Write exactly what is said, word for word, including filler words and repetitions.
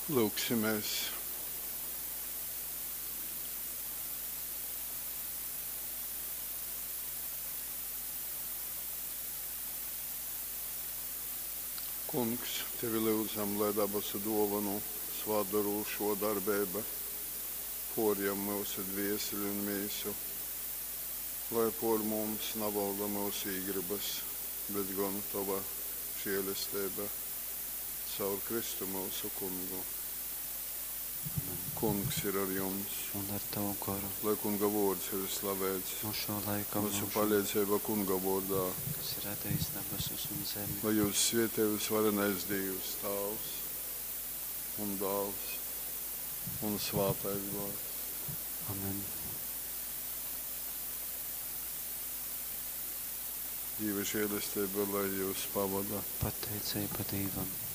Lūgsimies. Kungs, tevi lyudzam, lai dabasu duovonu svātdorūšuo darbeiba puorjam myusu dvieseli un mīsu, lai puor mums navolda myusu īgrybys, bet gon tova žielesteiba. Caur Kristu myusu Kungu. Amen. Kungs ir ar jums. Un ar tavu goru. Lai Kunga vuords ir slaveits. No šo laika Myusu mūžam, paleidzeiba Kunga vuordā. kas ir radījis debesis un zemi. Lai jūs svietej visvarenais Dīvs, Tāvs un Dāls un Svātais Gors. Amen. Dīva žēlestība, lai jūs pavada. Pateicība Dievam.